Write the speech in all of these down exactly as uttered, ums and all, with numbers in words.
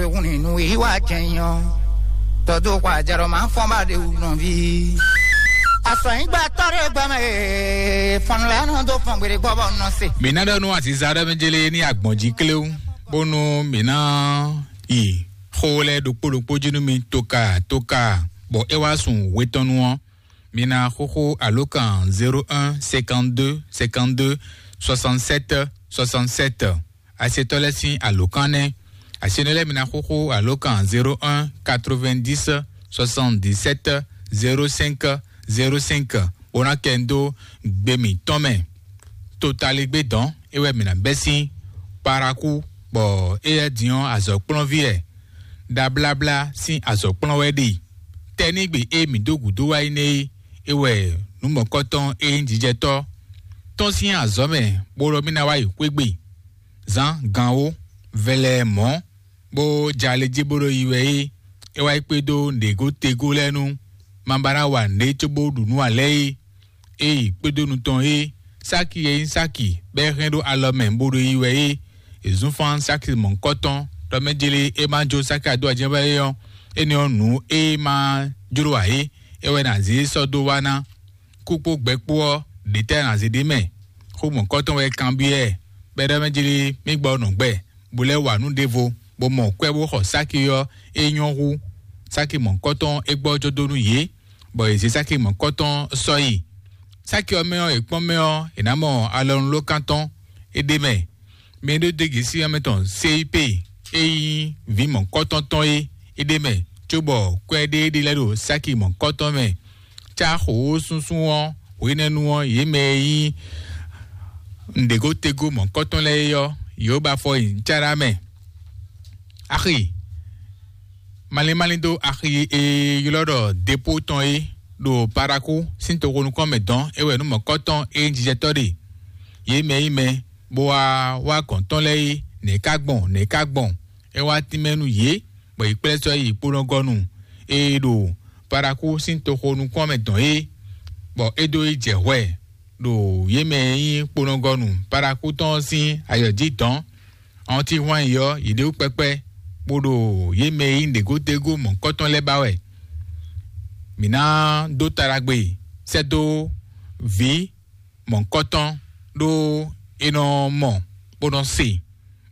Ehun ni nu yi wa jɛn yɔ. Tɔdo kwa jarɔ ma fɔn ba de wu nɔvi. Asɔ yi gba tɔ de gba me. Fɔn la no do fɔn gbede gbɔ bɔ nɔ se. Mǐ ná ɖɔ nú aziza ɖɔ mɛ jele ní agbɔ̌n jí kléwu, bónú mǐ ná yi xó lɛ́ɛ ɖokpó ɖokpó jí nú mi tóka tóka, bɔ é wá sun hwetɔ́nu ɔ́. Mi ná xóxó alǒkan zéro un cinquante-deux cinquante-deux soixante-sept soixante-sept. Asetɔ́ lɛ́ɛ sín alǒkan nɛ́. Asenɔ lɛ́ɛ mi ná xóxó alǒkan zéro un quatre-vingt-dix soixante-dix-sept zéro cinq zéro cinq, bó ná kɛ ń dó gbe mǐtɔn mɛ. Totaligbé dɔn é wɛ mǐ ná bɛ́ sín Paraku, bɔ éyɛ́ din ɔ́ azɔ̌kplɔ́nví wɛ. Ɖabláblá sín azɔ̌kplɔ́n wɛ ɖe. Tɛ́nígbe e mǐ dó gǔdo wá yi nɛ́ é, é wɛ nǔ mɔ̌kɔtɔn e nyí jijɛtɔ́ tɔn sín azɔ̌ mɛ, bó ɖɔ mì ná wá yi xwé gbe. Zǎn gan ó, vɛlɛ mɔ̌, bó jɛ ali jí bó ɖo yi wɛ é, é wá yi kpédó nǔɖégó tegó lɛ́ɛ nu, ma ba ná wa nǔɖé cóbó ɖu nǔ ǎ lɛ́ɛ é. Ée kpédó nu tɔn é, Sáki e nyí Sáki bɔ é hɛn ɖó alɔ mɛ bó ɖo yi wɛ é, è zún fán Sáki mɔ̌hunkɔtɔn ɖɔ mɛ jlé é ma jó Sáki adó ajɛ́nvá é ɔ́, énɛ́ ɔ́ nǔ e ma jló ǎ é, é wɛ ná zé sɔ́ dó wá ná. Kú kpó gbɛ kpó ɔ́, ɖě tɛ́ ná zé ɖ'é mɛ? Xó mɔ̌hunkɔtɔn wɛ kanbyɔ́ ɛ, bɔ é ɖɔ mɛ jlé mì gbɔ nɔ gbɛ, bó lɛ́ wa nǔ ɖěvo, bó mɔ kwɛ́ bó xɔ Sáki ɔ́, é nyɔ́ hú. Sáki mɔ̌hunkɔtɔn é gbɔjɔ́ dó nú yě, bɔ yě zé Sáki mɔ̌kɔtɔn sɔ́ yi. Sáki ɔ́ mɛ ɔ́, è kpɔ́n mɛ ɔ́, è nǎ mɔ alɔnulókan tɔn é ɖ'é mɛ. Mɛ e ɖó dégě sín ɔ́ mɛ tɔn Seyípe e nyí vǐ mɔ̌kɔtɔn tɔn é, é ɖ'é mɛ, cóbɔ kwɛ́ ɖé ɖé lɛ́ɛ ɖo Sáki mɔ̌kɔtɔn mɛ. Cá xǒxó súnsún ɔ́, hwenɛ́nu ɔ́, yě mɛ e nyí nǔɖégótegó mɔ̌kɔtɔn lɛ́ɛ é ɔ́, yě ba fɔ nyi cáɖá mɛ. Axi malín malín dó axi e ylɔ́ ɖɔ Depó tɔn é, ɖo Parakú sín toxo nukɔn mɛ dɔn é wɛ nú mɔ̌kɔtɔn e nyí jijɛtɔ́ ɖe. Yě mɛ nyí mɛ, bó wá wá gɔ̌n tɔn lɛ́ɛ é, nɛ̌ ká gbɔn, nɛ̌ ká gbɔn? É wá tínmɛ nú yě, bɔ yě kplɛ́ sɔ́ yi kponɔgɔnu e ɖo Parakú sín toxo nukɔn mɛ dɔn é, bɔ é dó yi jɛ hwɛ ɖo yě mɛ e nyí kponɔgɔnu Parakú tɔn ɔ́ sín ayɔ jí dɔn. Awɔntíhwan yi ɔ́, yě ɖe wú kpɛkpɛ, bó ɖo yě mɛ e nyí nǔɖégódégó mɔ̌hunkɔtɔn lɛ́ɛ ba wɛ. Mǐ ná dó ta ɖagbe sɛ́ dó vǐ mɔ̌hunkɔtɔn ɖó é nɔ mɔ, bó nɔ se,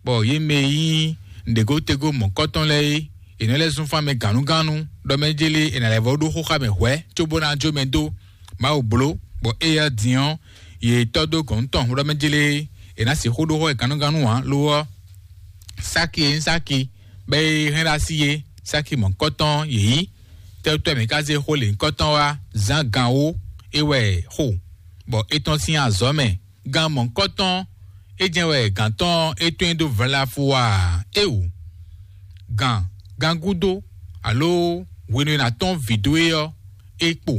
bɔ yě mɛ e nyí nǔɖégódégó mɔ̌hunkɔtɔn lɛ́ɛ é, è nɔ lɛ́ zún fán mɛ gǎnnugánnu, ɖɔ mɛ jélé è nǎ lɛ́ vɔ́ ɖó xóxá mɛ hwɛ̌, cóbó ná jó mɛ dó. Mawu bló, bɔ éyɛ́ din ɔ́, yě tɔ́ dó gɔ̌n tɔn, ɖɔ mɛ jélé è nǎ sixú ɖó xó e gǎnnugánnu ǎ. Lo ɔ́, Sáki e nyí Sáki, bɔ é hɛn ɖó así é, Sáki mɔ̌hunkɔtɔn yě nyí. Tɛ́tɔ́ mǐ ka zé xó lěhunkɔtɔn wá? Zǎn gan wó é wɛ xo, bɔ é tɔ́n sín azɔ̌ mɛ. Gan mɔ̌hunkɔtɔn é jɛ́n wɛ gǎn tɔn é tɔ́n dó vlafu a? Éeǒ! Gan gan gúdo, alo hwenu e è nǎ tɔ́n vǐ dó é ɔ́, é kpo,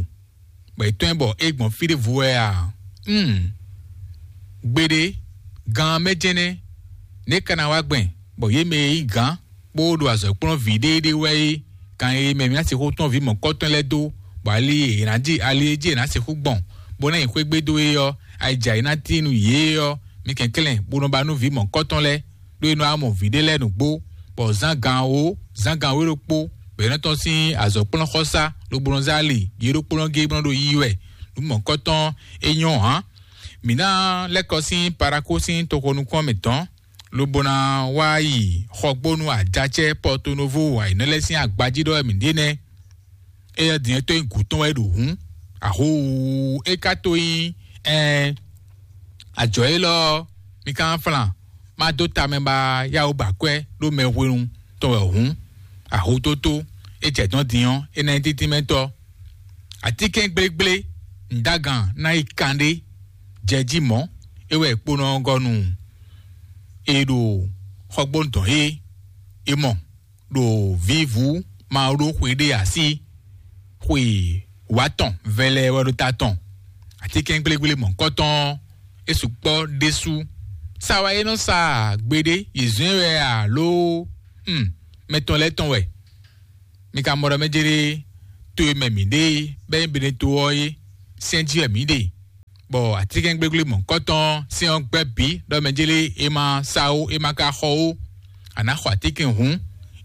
bɔ è tɔ́n ɛ bɔ é gbɔn fí ɖěvo wɛ a? Hmm. Gbeɖé, gan ɔ́ mɛ jɛ́n nɛ́. Nɛ̌ ka ná wá gbɛn, bɔ yě mɛ e nyí gǎn bó ɖo azɔ̌ kplɔ́n vǐ ɖéeɖée wɛ é, kan e mɛ mǐ ná sixú tɔ́n vǐ mɔ̌kɔtɔn lɛ́ɛ dó, bɔ ali e è nǎ ji ali e jí è nǎ sixú gbɔn, bó ná nyi xwé gbe dó é ɔ́, ayǐjǎ e ná tíin nú yě é ɔ́, mi kɛnklɛ́n bó nɔ ba nú vǐ mɔ̌kɔtɔn lɛ́ɛ, ɖó é nɔ wá mɔ vǐ ɖé lɛ́ɛ nǔgbó, bɔ zán gan wǒ, zán gan wǒ ɖokpó, bɔ è nɔ tɔ́n sín azɔ̌ kplɔ́n xɔsá, lobo nɔ zé ali yě ɖokpónɔ géé bó nɔ ɖo yiyi wɛ. Nǔ mɔ̌kɔtɔn é nyɔ́ hǎn. Mǐ ná lɛ́ kɔ sín Parakó sín toxo nukún ɔ́ mɛ tɔn, lobo ná wá yi xɔgbónú ajacɛ́ Pɔtonovo ayǐnɔ lɛ́ɛ sín agbají ɖɔ wɛ mǐ ɖe nɛ́. Éyɛ́ din ɔ́ tó nyí gǔ tɔn wɛ é ɖo hǔn, ahoo é ka tó nyí ɛɛn. Ajɔ̌ élɔ́ ɔ́, mi ka nɔ flan, má dó tamɛ ba yáwó ba kwɛ́ ɖó mɛ hwenu tɔn wɛ hǔn, ahotótó é jɛ dɔn din ɔ́, é ná nyí títínmɛtɔ́. Atínkɛn gblégblé, nǔdágan ná yi kanɖé, jɛ jí mɔ̌, é wɛ kponɔ ɔ́ gɔ́ nú e ɖo xɔgbónu dɔn é, é mɔ ɖo vǐvú ma ɖó xwe ɖé así, xwe wǎ tɔn vɛlɛ wɛ ɖo ta tɔn. Atínkɛn gblégblé mɔ̌kɔtɔn ɔ́, é sukpɔ́ ɖésú. Sa wɛ é nɔ sa gbeɖé, yě zɔ́n ɛ wɛ alo? Hmm, mɛ tɔn lɛ́ɛ tɔn wɛ. Mi ka mɔ ɖɔ mɛ jɛɖe to e mɛ mǐ ɖe é, bɔ é nyí Beneto ɔ́ é, sɛ́n jí wɛ mǐ ɖe, bɔ atínkɛn gblégblé mɔ̌kɔtɔn sɛ́n ɔ́ gbɛ́ bǐ ɖɔ mɛ jɛɖe é ma sa ó, é ma ka xɔ ó. A nǎ xɔ atínkɛn hǔn,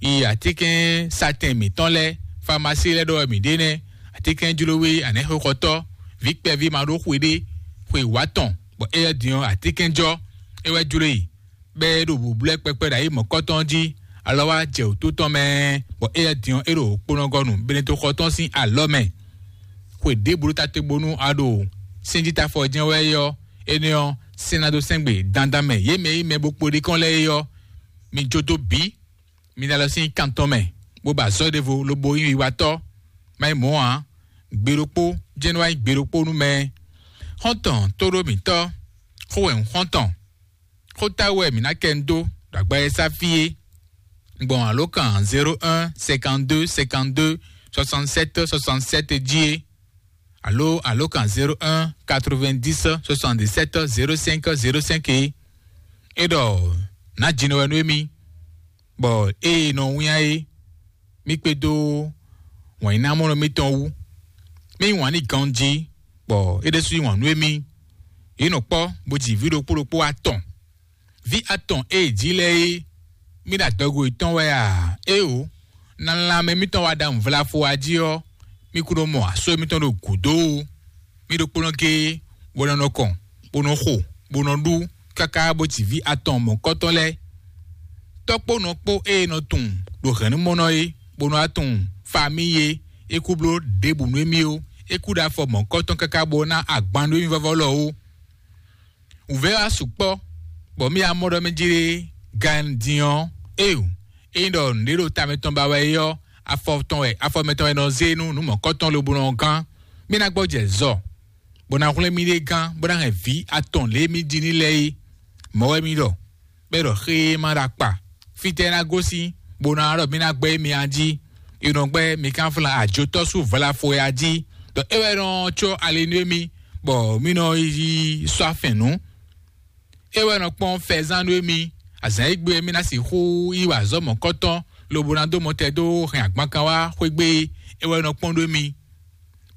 yi atínkɛnsatɛn mǐtɔn lɛ́ɛ, famasí lɛ́ɛ ɖɔ wɛ mǐ ɖe nɛ́. Atínkɛnjlówé anɛ̌xoxɔtɔ́, vǐ kpɛví ma ɖó xwe ɖé, xwe wǎ tɔn, bɔ éyɛ́ din ɔ́, atínkɛnjɔ é wɛ jló e, bɔ é ɖo bǔblɛ́ kpɛkpɛ ɖo ayǐ mɔ̌kɔtɔn jí, alɔ wá jɛ wǔtu tɔn mɛ, bɔ éyɛ́ din ɔ́, é ɖo kponɔgɔnu Benetoxɔ tɔn sín alɔ mɛ. Xwe ɖěbǔ ɖo ta te bónú a ɖo sɛ́njítafɔ jɛ́n wɛ é ɔ́, énɛ́ ɔ́, sɛ́n ná dó sɛ́n gbe dandan mɛ yě mɛ e nyí mɛ bo kpo ɖi kɔn lɛ́ɛ é ɔ́, mi jó dó bǐ. Mi ná lɔ sín kan tɔn mɛ, bó ba azɔ̌ ɖěvo lobo nyí wiwatɔ́. Má nyí mɔ̌ ǎ, gbe ɖokpó jɛ́n nɔ wá nyí gbe ɖokpó nú mɛ. Xɔ́ntɔn tóɖó mǐtɔn, xó wɛ un xɔ́ntɔn, xó táwú wɛ mǐ ná kɛ un dó ɖo agba e sá fí é, gbɔn alǒkan zéro un cinquante deux cinquante deux soixante sept soixante sept jí é, alo alǒkan zéro un quatre vingt dix soixante dix sept zéro cinq zéro cinq é. É ɖɔ nǎ jinɔ wɛ nú émí, bɔ ée nɔ wínnyá é, mí kpédó wǎnyínámɔ́nɔ mítɔn wú. Mí yí wǎn n'i ganjí, bɔ é ɖésú yí wǎn nú émí. Yě nɔ kpɔ́ bó ji vǐ ɖokpó ɖokpó atɔn. Vǐ atɔn e è jí lɛ́ɛ é, mí ɖo adɔgo yětɔn wɛ a? Éeǒ, na lanmɛ mítɔn wá ɖa nǔvlafo a jí ɔ́, mí kún nɔ mɔ asó mítɔn ɖo gǔdo ó. Mí ɖokpónɔ géé, bó nɔ nɔ kɔn, bó nɔ xo, bó nɔ ɖú, káká bó ji vǐ atɔn mɔ̌kɔtɔn lɛ́ɛ. Tɔ́ kpó nɔ kpó ée nɔ tunwun ɖo hɛ̌nnumɔnɔ é, bó nɔ wá tunwun famíyi é, é kú bló ɖěbǔ nú émí ó. É kú ɖo afɔ mɔ̌kɔtɔn káká bó ná agban nú émí vɔ́vɔ́ lɔ ó. Wǔvɛ́ wá sukpɔ́, bɔ mí amɔ ɖɔ mɛ jí ɖé gan din ɔ́, éeǒ, ényí ɖɔ nǔɖé ɖo ta mɛtɔn ba wɛ é ɔ́, afɔ tɔn wɛ afɔ mɛtɔn wɛ nɔ zé nú nǔ mɔ̌kɔtɔn lobo nɔ gán. Mí ná gbɔjɛ zɔ, bó ná hwlɛ́n mì ɖe gán, bó ná hɛn vǐ atɔn lě e mí ji ní lɛ́ɛ é. Mɔ̌ wɛ mí ɖɔ, bɔ é ɖɔ xé e ma ɖo akpa. Fítɛ́ ná gosín, bó ná ɖɔ mí ná gbɛ́ émí a jí? È nɔ gbɛ́ mi kánflán ajotɔ́ sú vlafɔ ya jí, ɖɔ é wɛ nɔ có ali nú émí, bɔ mí nɔ yi sɔ́ afɛn nǔ. É wɛ nɔ kpɔ́n fɛzán nú émí. Azǎn e gbe mí ná sixú yi wa azɔ̌ mɔ̌kɔtɔn, lobo ná dó mɔtɛn dó hɛn agbankan wá xwé gbe é. É wɛ nɔ kpɔ́n nú émí.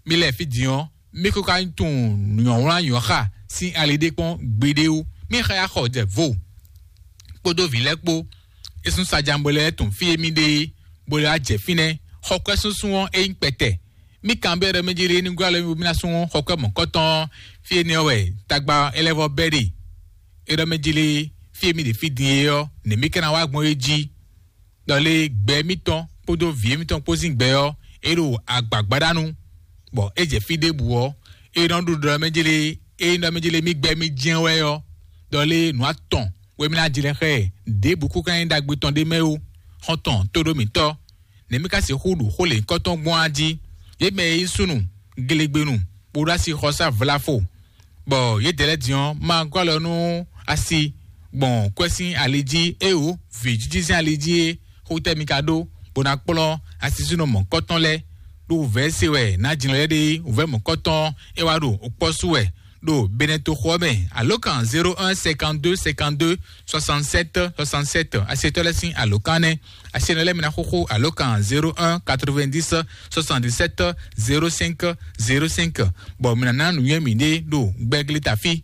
Mí lɛ́ɛ fí din ɔ́, mí kó ka tunwun nyɔ̌wlán nyɔ̌xa sín ali ɖé kpɔ́n gbeɖé wú. Mí xa yá xɔ jɛ vo kpódó vǐ lɛ́ɛ kpó. É sún sajan bɔ lɛ́ɛ tunwun fí e mí ɖe é, bó lɛ́ wá jɛ fínɛ́. Xɔkwɛ́ súnsún ɔ́, é nyí kpɛtɛ. Mí kanbyɔ́ ɖɔ mí jí lé ní gɔ́ alɔ mí bó mí ná sú xɔkwɛ́ mɔ̌kɔtɔn ɔ́, fí énɛ́ ɔ́ wɛ tagba é lɛ́ vɔ́ bɛ́ ɖe. É ɖɔ mí jí lé, fí e mí ɖe fí din é ɔ́, nɛ̌ mí ka ná wá gbɔn é jí? Ɖɔ lé gbɛ mítɔn kpódó vǐ émítɔn kpó sín gbɛ ɔ́, é ɖo agbǎgbáɖánu, bɔ é jɛ fí ɖěbǔ ɔ́, é nɔ ɖu ɖɔ mɛ jélé é nɔ mɛ jélé mí gbɛ mí jɛ́n wɛ ɔ́, ɖɔ lé nǔ atɔn wɛ mí ná jlɛ́ xá ɛ. Ɖěbǔ kú ka nyí ɖagbe tɔn ɖé mɛ ó. Xɔ́ntɔn tóɖó mǐtɔn, nɛ̌ mí ka sixú ɖu xó lěhunkɔtɔn gbɔn á jí? Yě mɛ e nyí súnnu, gelegbenu, bó ɖó asixɔsá vlafo, bɔ yědɛɛ lɛ́ɛ din ɔ́, ma gɔ́ alɔ nú asi gbɔn kwɛ́ sín ali jí, éeǒ, vǐjiji sín ali jí é. Xó tɛ́ mi ka ɖó, bó ná kplɔ́n asisúnɔ mɔ̌kɔtɔn lɛ́ɛ? Ɖó wǔvɛ́ se wɛ nǎ jlɔ́ lɛ́ɛ ɖe, wǔvɛ́ mɔ̌kɔtɔn é wá ɖo okpɔ́ sú wɛ ɖo Benɛtoxo ɔ́ mɛ. Alǒkan zéro un cinquante deux cinquante deux soixante sept soixante sept, asetɔ́ lɛ́ɛ sín alǒkan nɛ́. Asenɔ lɛ́ɛ mi ná xóxó alǒkan zéro un quatre vingt dix soixante dix sept zéro cinq zéro cinq, bɔ mi ná ná nǔnywɛ́ mǐɖée ɖo gbɛ́glí tafí.